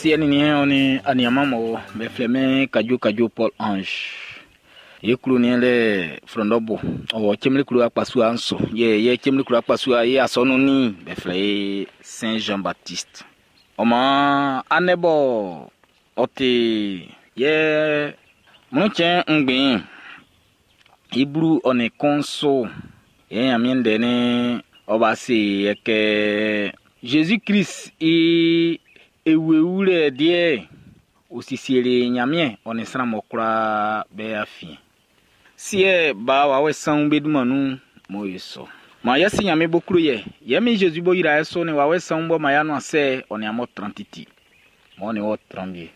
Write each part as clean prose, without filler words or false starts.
Siɛ nin niɛn ɔ nin aniaman mɔ be flɛ min Kadjo Kadjo Paul Ange. Ye klo niɛn lɛ Frɔndɔbo ɔ Cemli klo akpasua nso. Yɛ yɛ Cemli klo akpasua ye asɔnun ni be flɛ i Saint Jean Baptiste. Ɔ maan anɛ bɔ ɔ ti yɛ mlɔntsɛn ngbɛn i blu ɔ nin kun so yɛ Ɲanmiɛn ndɛ'n ɔ ba se yɛ kɛ Jésus Christ i ewuewulɛ deɛ o sisieli Ɲanmiɛn ɔ nin sran mɔ kwlaa be afiɛn. Siɛ ba wawɛ sanwun be dunman nun mo ye sɔ. Ma yɛ si Ɲanmiɛn bo klo yɛ yɛ min Jésus bo yra yɛ so ni wawɛ sanwun bɔ ma ya no asɛ ɔ nin amɔ tran titi. Mɔ ni wɔ tran bie.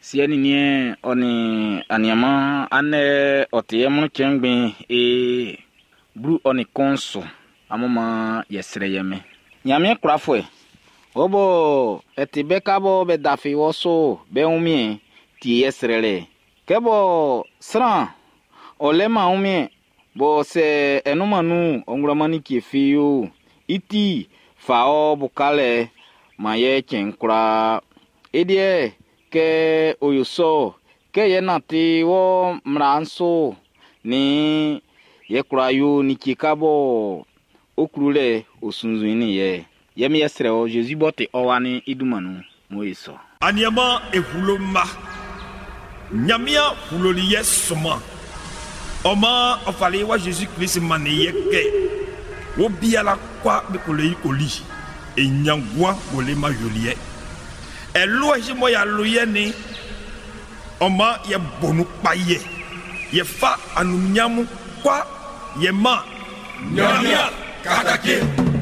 Siɛ nin niɛn ɔ nin aniaman anɛ ɔ ti yɛ mlɔntsɛn ngbɛn e blu ɔ nin kun so amun ma yɛ srɛ yɛ mɛ. Ɲanmiɛn kwlafuɛ wɔ bɔ ɛti bɛ ka bɔ bɛ dafi wɔ so bɛ wunmiɛn ti yɛ srɛlɛ. Kɛ bɔ sran ɔ lɛ-man wunmiɛn bɔ sɛ ɛnunman nun ɔ ngwlaman ni kie fi yo i ti fa ɔ bukalɛ ma yɛ cɛn kwlaa. E deɛ kɛ o yo sɔ kɛ yɛ nante wɔ mmla'n so ni yɛ kwla yo ni kie ka bɔ o klu lɛ o sunzun ni yɛ. Yɛ mi yɛ srɛ ɔ Jésus bɔ te ɔ wa ni i dunman nun mo ye sɔ. Aniama ehulo ma. Ɲanmiɛn huloli yɛ sɔman. Ɔ maan ɔ fali wa Jésus Christ mannin yɛ kɛ wo biala kwa be ko le yi ko li. E ɲangua wo le ma yoliɛ. Ɛlo ɛsi mɔ ya lo yɛ ni. Ɔ maan yɛ bonu kpa yɛ. Yɛ fa anunmiamu kwa yɛ ma. Ɲanmiɛn katake.